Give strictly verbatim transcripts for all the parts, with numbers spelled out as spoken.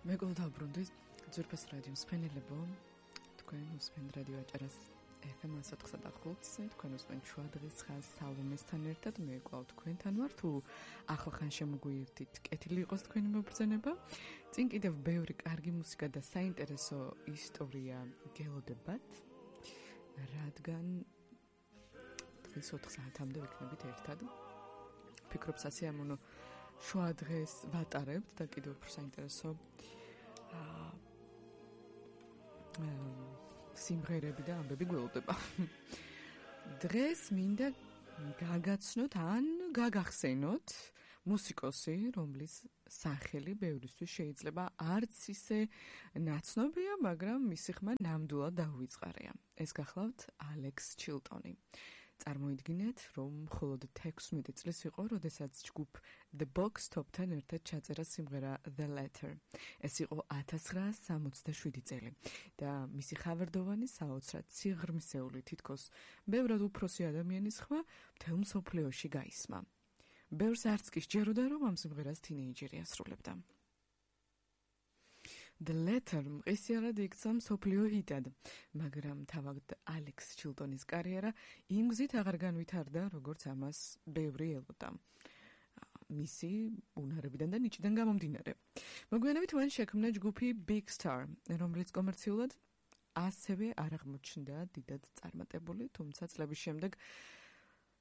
მეგობრებო, დაბრუნდით ძვირფას რადიო მსმენელებო, თქვენ უსმენთ რადიო აჭარას ეფ ემ one oh five point five, თქვენ უსმენთ შუა დღის ხაზს სალომესთან ერთად, მე კვლავ თქვენთან ვარ, თუ ახლახან შემოგვიერთით, კეთილი იყოს თქვენი მობრძანება. წინ კიდევ ბევრი კარგი მუსიკა და საინტერესო ისტორია გელოდებათ, რადგან დღეს ოთხ საათამდე ვიქნებით ერთად. ვფიქრობ სასიამოვნო შუა დღეს ვატარებთ და კიდევ უფრო საინტერესო აა სიმღერები და ამბები გველოდება. დღეს მინდა გაგაცნოთ ან გაგახსენოთ მუსიკოსი, რომლის სახელი ბევრისთვის შეიძლება არც ისე ნაცნობია, მაგრამ მისი ხმა ნამდვილად დაუვიწყარია. ეს გახლავთ ალექს ჩილტონი. წარმოიდგინეთ, რომ მხოლოდ თექვსმეტი წლის იყო, როდესაც ჯგუფ The Box Top-თან ერთად ჩაწერა სიმღერა The Letter. ეს იყო ათას ცხრაასი სამოცდაშვიდი წელი და მისი ხავერდოვანი საოცრად სიღრმისეული, თითქოს ბევრად უფროსი ადამიანის ხმა მთელ მსოფლიოში გაისმა. ბევრს არც კი სჯეროდა, რომ ამ სიმღერას თინეიჯერი ასრულებდა. The Letter მყისიარად იქცა მსოფლიო ჰიტად, მაგრამ თავად ალექს ჩილტონის კარიერა იმ გზით აღარ განვითარდა, როგორც ამას ბევრი ელოდა. მისი უნარებიდან და ნიჭიდან გამომდინარე. მოგვიანებით მან შექმნა ჯგუფი Big Star, რომელიც კომერციულად ასევე არ აღმოჩნდა დიდად წარმატებული, თუმცა წლების შემდეგ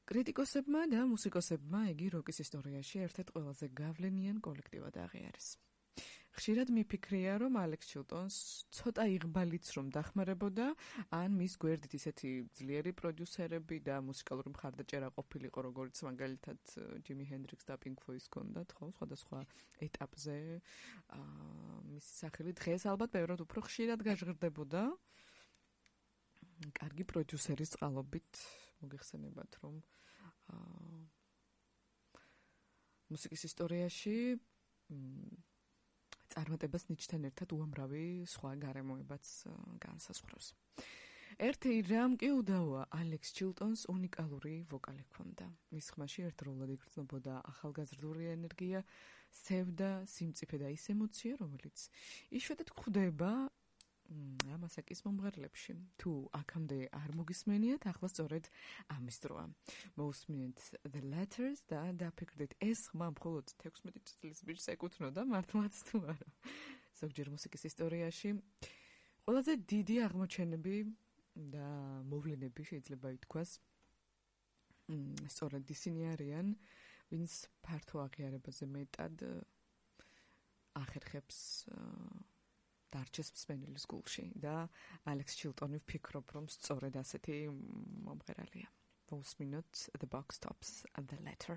კრიტიკოსებმა და მუსიკოსებმა იგი როკის ისტორიაში ერთ-ერთ ყველაზე გავლენიან კოლექტივად აღიარეს. ხშირად მიფიქრია, რომ ალექს ჩილტონს ცოტა იღბალიც რომ დახმარებოდა, ან მის გვერდით ისეთი ძლიერი პროდიუსერები და მუსიკალური მხარდაჭერა ყოფილიყო, როგორც მაგალითად ჯიმი ჰენდრიქსს და პინკ ფლოიდს ჰქონდათ, ხო, სხვადასხვა ეტაპზე. აა მისი სახელი დღეს ალბათ ბევრად უფრო ხშირად გაჟღერდებოდა. კარგი პროდიუსერის წყალობით მოგეხსენებათ, რომ აა მუსიკის ისტორიაში წარმატებას ნიჭთან ერთად უამრავი სხვა გარემოებაც განსაზღვრავს. ერთი რამ კი უდავოა, ალექს ჩილტონს უნიკალური ვოკალი ჰქონდა. მის ხმაში ერთდროულად იგრძნობოდა ახალგაზრდული ენერგია, სევდა, სიმწიფე და ის ემოცია, რომელიც იშვიათად გვხვდება ამასაკის მომღერლებში. თუ აქამდე არ მოგისმენიათ, ახლა სწორედ ამის დროა. მოусმინეთ The Letters და დაფიქრდით, ეს ხმა მხოლოდ თექვსმეტი წლის ბიჭს ეკუთვნოდა, მართლაც თუ არა. ზოგჯერ მუსიკის ისტორიაში ყველაზე დიდი აღმოჩენები და მოვლენები შეიძლება ითქვას, სწორედ ისინი არიან, ვინც ფართო აღიარებაზე მეტად ახერხებს დარჩეს მსმენელის გულში და ალექს ჩილტონი ვფიქრობ, რომ სწორედ ასეთი მომღერალია. მოусმინოთ The Box Tops and The Letter.